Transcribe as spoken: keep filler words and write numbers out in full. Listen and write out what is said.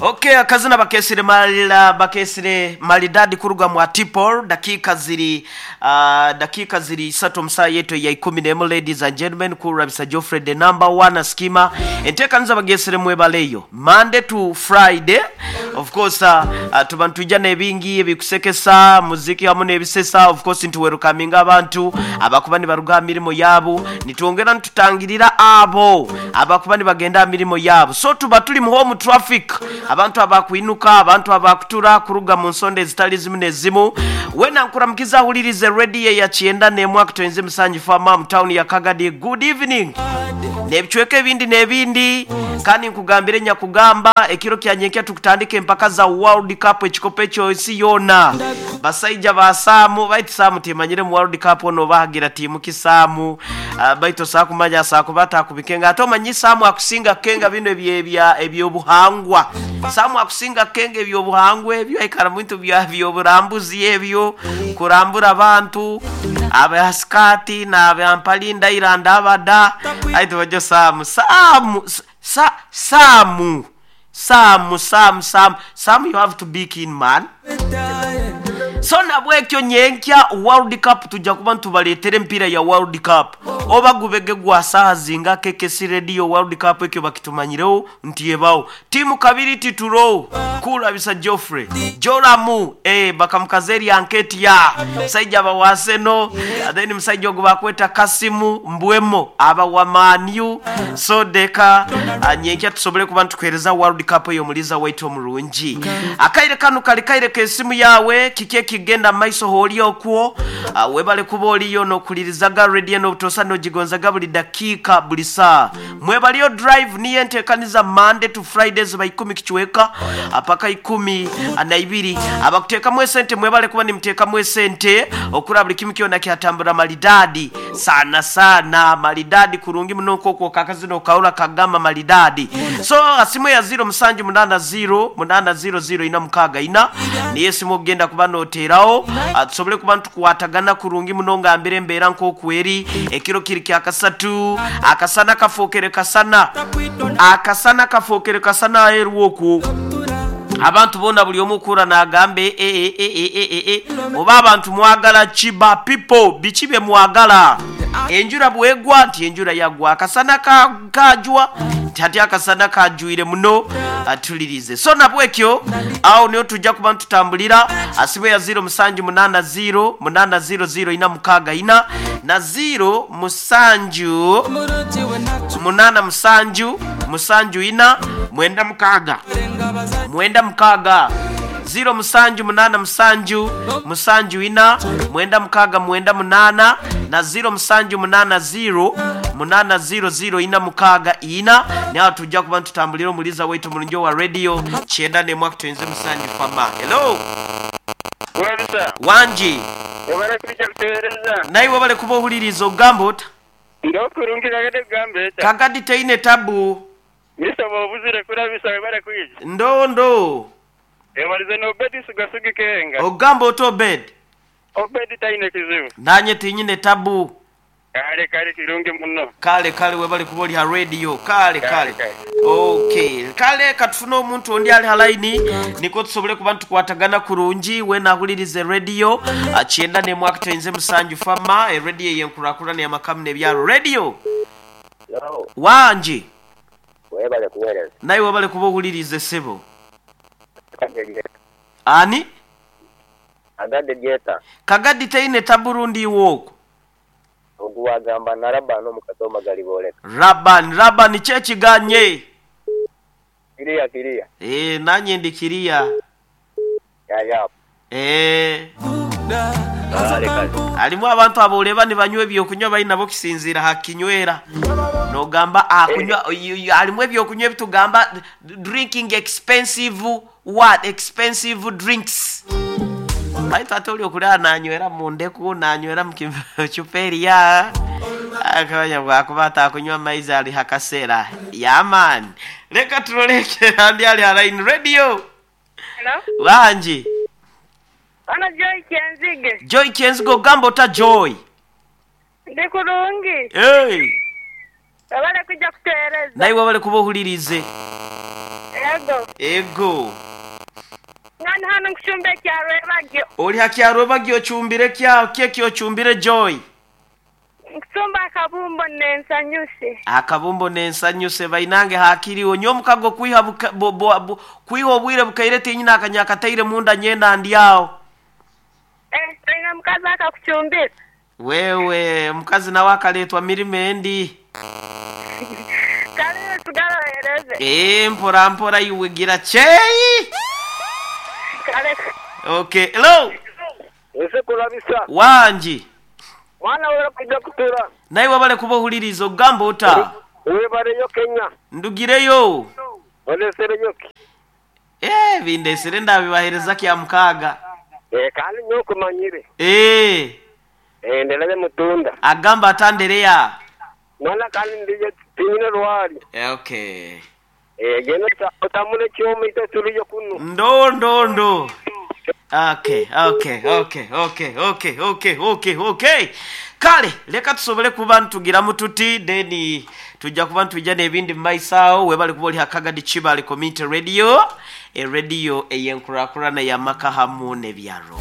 Okay, akazina bakesire malila bakesire malidadi kuruga mwa tipol dakika ziri uh, dakika ziri isatu msaa yetu ya ikumi nemu. Ladies and gentlemen, kurabisa Geoffrey the number one skima enteekaniza bagesire mwebaleyo Monday to Friday. Of course uh, uh, tuba ntujja n'ebingi ebikusekesa muziki hamu n'ebisesa. Of course ntuwerukaminga abantu abakuba nibaruga mirimo yabo, nitwongera nitutangirira abo abakuba nibagenda mirimo yabo. So tuba tuli mu home traffic, abantu abakwinuka, abantu abakutura kuruga mu nsonda ezitali zimu nezimu. Wena nkuramukiza ahulirize radio ya kyenda n'emu akutonze musanju fama mu town ya Kagadi. Good evening n'ebicweka ebindi n'ebindi, kandi nkugambire nyakugamba ekiro kyanyenkya tukutandika empaka za World Cup ekikopo ekyo ensi yona. Basaija ba Saamu baitu Saamu timanyire mu World Cup ono bahagira tiimu kisaamu uh, baitu saakumanya saakubata akubikenga ate omanyi Saamu akusinga kenga bino ebya ebyobuhangwa. Saamu akusinga kenga ebyobuhangwa ebyo aikara muntu bya byoburambuzi ebyo kurambura abantu abaskati na abampalinda iranda abada aitu bajo Saamu Saamu sa Saamu Saamu Saamu Saamu Saamu, you have to be keen man. So nabwekyo nyenkya World Cup tujja kuba ntubaleetera empiira ya World Cup oba gubege gwa saha zinga K K C Radio World Cup ekyo bakitumanyirewo nti ebawo tiimu kabiri tituro kulabisa Geoffrey Joramu eh bakamukazeri anketi ya musajja bawaseno, then musajja ogwo bakweta Kasimu Mbwemo aba wa Manu. So deka nyenkya tusobole kuba ntukuhereza World Cup eyo muliza waitu omurungi. Akaire kanu kali kaire kesimu yawe kike kigenda maiso holi okwo uh, webale kuba oliyo nokulirizaga radio nobutosa nogigonzaga buli dakika buli saa. Mwebaliyo drive niye ntekaniza Monday to Fridays ba ikumi kichweka apaka ikumi na ibiri. Abakuteekamu esente mwebale kuba nimteekamu esente okura buli kimu kyona kyatambura malidadi sana sana malidadi kurungi muno nk'okwo kakazino kaula kagamba malidadi. So asimu ya zero musanju munana zero munana zero zero ina mukaga ina niye simu ogenda kuba noterawo tusobole kuba ntukwatagana kurungi muno nga mbere mbeera nk'okweri ekiro kiri kya kasatu akasana kafookere kasana akasana kafookere kasana aheeru okwo abantu bona buli omu okura n'agambe e e e e e e e oba abantu mwagala kiba people biki bye mwagala. Enjura bwegwa nti enjura yagwa akasana kajwa nti ati akasana kajwire muno atulirize. So nabwekyo awo niyo tujja kuba ntutambulira asimu ya zero musanju munana zero munana zero zero ina mukaga ina na zero musanju munana musanju musanju ina mwenda mukaga mwenda mukaga zero musanju munana musanju musanju ina mwenda mukaga mwenda munana na zero musanju munana zero munana zero zero ina mukaga ina. Nawe tujja kuba ntutambulira omuliza waitu mulungi wa radio kyenda n'emu akutonze musanju fama. Hello Wabisa wanji wabale kuja kutegereza naye wabale kuba ohuliriza ogamba ota ndokurungi kagade kugamba eta kagadi teine tabu misaba obuzire kurabisa webale kwija ndo ndo ewalize n'Obedi sugasugi kenga ogamba ota Obedi Obedi taine kizibu nanye tinyine tabu kale kale kirungi muno kale kale webale kuba oli ha radio kale kale okay kale katufune omuntu ondi ali halaini niko tusobole kuba ntukwatagana kurungi wena ahulirize radio kyenda n'emu akutonze musanju fama e radio yenkurakurana y'amakamu n'ebyalo radio wanji webale kuweereza naye webale kuba ohulirize ssebo ani Kagadi jeta Kagadi teine taburundi iwoko oguwagamba na Rabani omukatoma galiboleka Rabani Rabani kyekiganye kiriya kiriya eh nanye ndi kiriya ya ya eh alimu abantu aboleba nibanywa ebyokunywa balina bo kisinzira hakinywera nogamba akunywa alimu ebyokunywa ebitugamba drinking expensive what expensive drinks baitu ate oli okulaba nanywera mu ndeku nanywera mu kicupa akabanya bwakuba atakunywa amaizi ali hakaseera yaman. Leka tuloleke andi ali halaini radio. Hello? Wanji Ana Joy Kenzige. Joy Kenzige ogamba ota Joy Ndi kurungi. Hey Wabale kujja kuteereza naye wabale kuba ohulirize. Ego. Ego. Ngani hano nkuchumba ekyarwebagyo. Oli hakyarwebagyo ochumbire kya kyeki ochumbire Joy? Nkuchumba akabumbo n'ensanyuse. Akabumbo n'ensanyuse bainange hakiriwo nyo omukago kwiha buka, bo, bo, bo, kwiha obwire bukaire tinyina akanyakataire munda nyenda ndyawo. Eh, tulina mukazi akakuchumbira. Wewe mukazi nawe akaletwa mirimo endi. Kale sigala ohereze. Eh, mpora mpora iwe gira cheyi. Kale. Okay, hello. Ese kulabisa. Wanji. Mwana wera kujja kutura. Naye wabale kuba ohuliriza ogamba ota. Webaleyo Kenya. Ndugireyo. Olesereyo ki. Eh, bindesere ndabibahereza kya mukaaga. Eh, kandi nyo kumanyire. Eh, Eh, ndelaye mutunda. agamba atandereya. Mwana kandi ndiye tinyine rwali. Eh, okay. Eh, geno otamule kyomo ite tuliyo kuno. Ndo ndo ndo. Okay, okay, okay, okay, okay, okay, okay, okay. Kale leka tusobole kuba ntugiramu tuti then tujja kuba ntujja n'ebindi mu maiso awo. Webale kuba oli hakagadi Kibale Community Radio, e radio ey'enkurakurana y'amaka hamu n'ebyaro.